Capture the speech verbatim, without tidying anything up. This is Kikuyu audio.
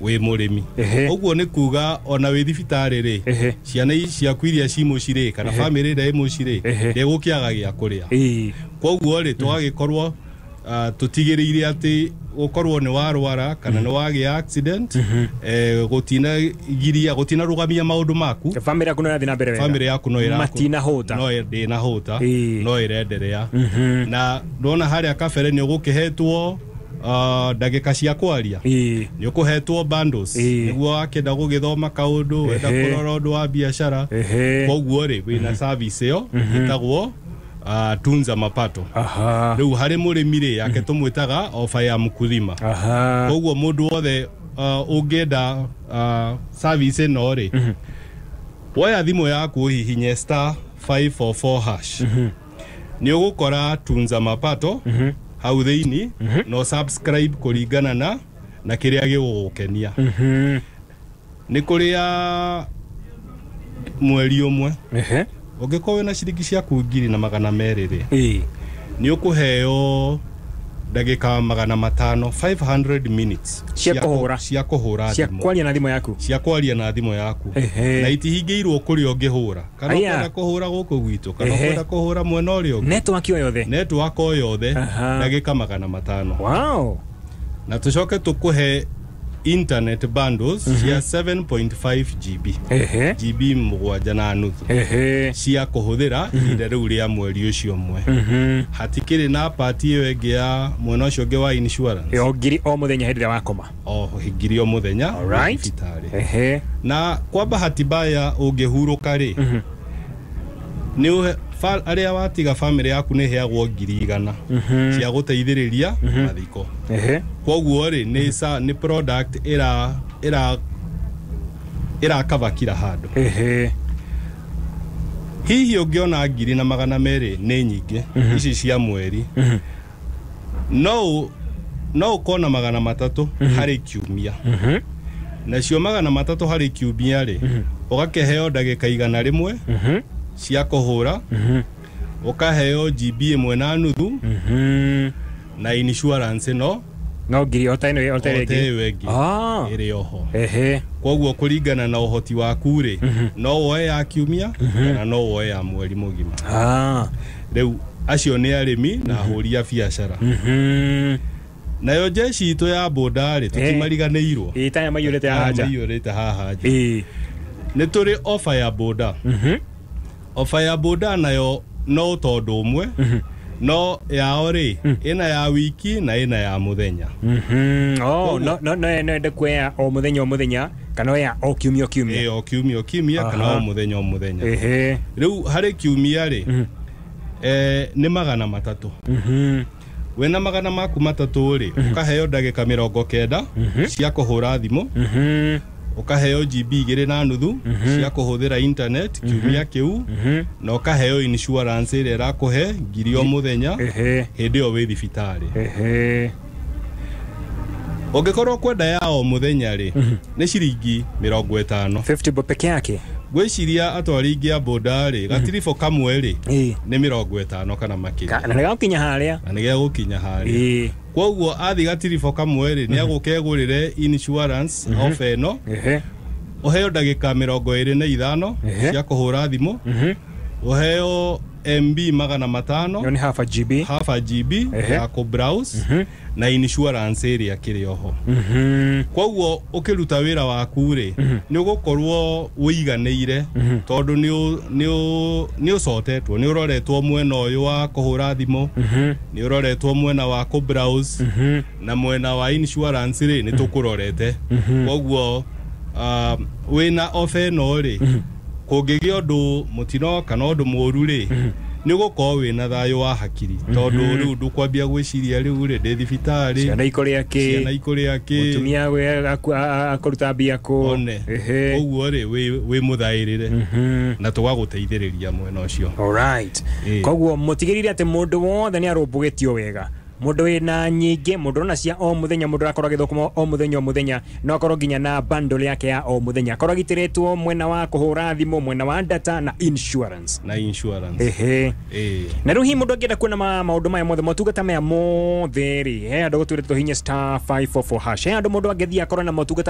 Wĩ mũrĩmi. Ehe. Ũguo nĩ kuga ona wĩ thibitarĩ rĩ, Ehe. ciana ici ciaku iria ci mũciĩ rĩ, kana bamĩrĩ ĩrĩa ĩ mũciĩ rĩ, Ehe. ndĩgũkĩaga gĩa kũrĩa. Ĩĩ. Koguo rĩ, tũgagĩkorwo ah, tũtigĩrĩire atĩ gũkorwo nĩ warwara kana nĩ wagĩa accident, eh, gũtinagiria, gũtinarũgamia maũndũ maku. Bamĩrĩ yaku no ĩrathiĩ na mbere wega. Bamĩrĩ yaku no ĩraku- Matinahũta. no ĩ- ndĩnahũta. Ĩĩ. No ĩrenderea. Na ndona harĩa kabere nĩ ũgũkĩhetwo ah, ndagĩka cia kwaria, Ĩĩ. nĩ ũkũhetwo bundles Ĩĩ. nĩguo wakĩenda gũgĩthoma kaũndũ, wenda Ehe. kũrora ũndũ wa biacara. Ehe. Koguo rĩ, wĩna service ĩyo ĩtagwo uh, Tunza Mapato. Aha. Rĩu harĩ mũrĩmi rĩ, yake tũmwĩtaga ofa ya mkulima. Aha. Koguo mũndũ wothe uh, ũngĩenda uh, service ĩno rĩ, woya thimũ yaku, ũhihinye star five four four hash, nĩ ũgũkora Tunza Mapato hau thĩinĩ, no subscribe kũringana na na kĩrĩa gĩgũgũkenia. Mhm. Nĩ kũrĩa mweri ũmwe, Ehe. ũngĩkorwo wĩna ciringi ciaku ngiri na magana merĩ rĩ, Ĩĩ. nĩ ũkũheo ndagĩka magana matano, five hundred minutes. Cia kũhũra. Cia kũhũra Cia thimũ. kwaria na thimũ yaku. Cia kwaria na thimũ yaku. Ehe. Na itihingĩirwo kũrĩa ũngĩhũra, kana Aya. ũkwenda kũhũra gũkũ gwitũ, kana Ehe. ũkwenda kũhũra mwena ũrĩa ũngĩ. Network o yothe. Network o yothe. Aha. Ndagĩka magana matano. Wow. Na tũcoke tũkũhe internet bundles cia seven point five G B, Ehe. G B mũgwanja na nuthu, Ehe. cia kũhũthĩra ihinda rĩu rĩa mweri ũcio ũmwe. Mhm. Hatikĩrĩ na part ĩyo ĩngĩ ya mwena ũcio ũngĩ wa insurance. O ngiri o mũthenya hĩndĩ ĩrĩa wakoma. O ngiri o mũthenya Alright. thibitarĩ. Ehe. Na kwa bahati mbaya ũngĩhurũka rĩ, nĩ ũhe fa- arĩa watiga, bamĩrĩ yaku nĩ ĩheagwo ngiri igana cia gũteithĩrĩria mathiko. Ehe. Koguo rĩ, nĩ sa nĩ product ĩra ĩra ĩrakava kila handũ. Ehe. Hihi ũngĩona ngiri na magana merĩ nĩ nyingĩ ici cia mweri, no ũ- no ũkona magana matatũ harĩ kiumia. Mhm. Nacio magana matatũ harĩ kiumia rĩ, ũgakĩheo ndagĩka igana rĩmwe Mhm. cia kũhũra, ũkaheo G B ĩmwe na nuthu, Mhm. na insurance no No ngiri o ta ĩno, o ta ĩrĩa o ta ĩngĩ. ĩyo ĩngĩ Ah. ĩrĩ oho. Ehe. Koguo kũringana na ũhoti waku rĩ, no woe ya kiumia kana no woe ya mweri mũgima. Ah. Rĩu acio nĩ arĩmi na ahũri a biacara. Mhm. Nayo jeshi itũ ya boda rĩ, tũtimariganĩirwo. Ĩĩ, taya maiyũrĩte haha nja. Maiyũrĩte haha nja. Ĩĩ. Nĩ tũrĩ ofa ya boda. Mhm. Ofa ya boda nayo no tondũ ũmwe no yao rĩ, ĩna ya wiki na ĩna ya mũthenya. Mhm. Oh, no no no no ende kuoya o mũthenya o mũthenya kana ya o kiumia o kiumia. Ĩ, o kiumia o kiumia kana Aha. o mũthenya o mũthenya. Ehe. Rĩu harĩ kiumia rĩ, eh, nĩ magana matatũ. Mhm. Wĩna magana maku matatũ rĩ, ũkaheo ndagĩka mĩrongo kenda cia kũhũra thimũ, Mhm. ũkaheo G B igĩrĩ na nuthu cia kũhũthĩra internet kiumia kĩu, na ũkaheo insurance ĩrĩa ĩrakũhe ngiri o mũthenya Ehe. hĩndĩ ĩyo wĩ thibitarĩ. Ehe. Ũngĩkorwo kwenda ya o mũthenya rĩ, nĩ ciringi mĩrongo ĩtano. fifty bob peke yake. Ngwĩciria atwari aingĩ a boda rĩ, gatiribũ kamwe rĩ, Ĩĩ. nĩ mĩrongo ĩtano kana makĩria. Ka- Na nĩgagũkinya harĩa. Na nĩ gegũkinya harĩa. Ĩĩ. Koguo athi gatiribũ kamwe rĩ, nĩ agũka egũrĩre insurance ofa ĩno, Ehe. ũheo ndagĩka mĩrongo ĩrĩ na ithano Ehe. cia kũhũra thimũ, Mhm. ũheo M B magana matano, Ĩyo nĩ half a G B. Half a G B Ehe. ya kũ browse, na insurance ĩrĩa kĩrĩ oho. Mhm. Koguo ũkĩruta wĩra waku rĩ, nĩ ũgũkorwo ũiganĩire tondũ nĩ ũ- nĩ ũ- nĩ ũcotetwo, nĩ ũroretwo mwena ũyũ wa kũhũra thimũ, Mhm. nĩ ũroretwo mwena wa kũ browse, Mhm. na mwena wa insurance rĩ, nĩ tũkũrorete. Koguo uh, wĩna ofa ĩno rĩ, kũngĩgĩa ũndũ mũtino kana ũndũ mũũru rĩ, nĩ ũgũkorwo wĩna thayũ wa hakiri tondũ rĩu ndũkwambia gwĩciria rĩu rĩ, ndĩ thibitarĩ, Ciana ikũrĩa ciana kĩ. ikũrĩa kĩ. Mũtumia we aku- a- a- akũruta mbia kũ. One. Ehe. Ũguo rĩ, wĩ wĩ mũthaĩrĩre Mhm. na tũgagũteithĩrĩria mwena ũcio. Alright. Ĩĩ. Koguo mũtigĩrĩre atĩ mũndũ wothe nĩ arũmbũgĩtio wega, mũndũ wĩna nyingĩ, mũndũ ũrona cia o mũthenya, mũndũ ũrakorwo agĩthũkũma o mũthenya o mũthenya, no akorwo nginya na bundle yake ya o mũthenya, akorwo agitĩrĩtwo mwena wa kũhũra thimũ, mwena wa data na insurance. Na insurance. Ehe. Ĩĩ. Na rĩu hihi mũndũ angĩenda kuona ma- maũndũ maya mothe, motungata maya mothe rĩ, he andũ gũtwĩre tũhinye star five four four hash, he andũ mũndũ angĩthiĩ akorwo na motungata maya?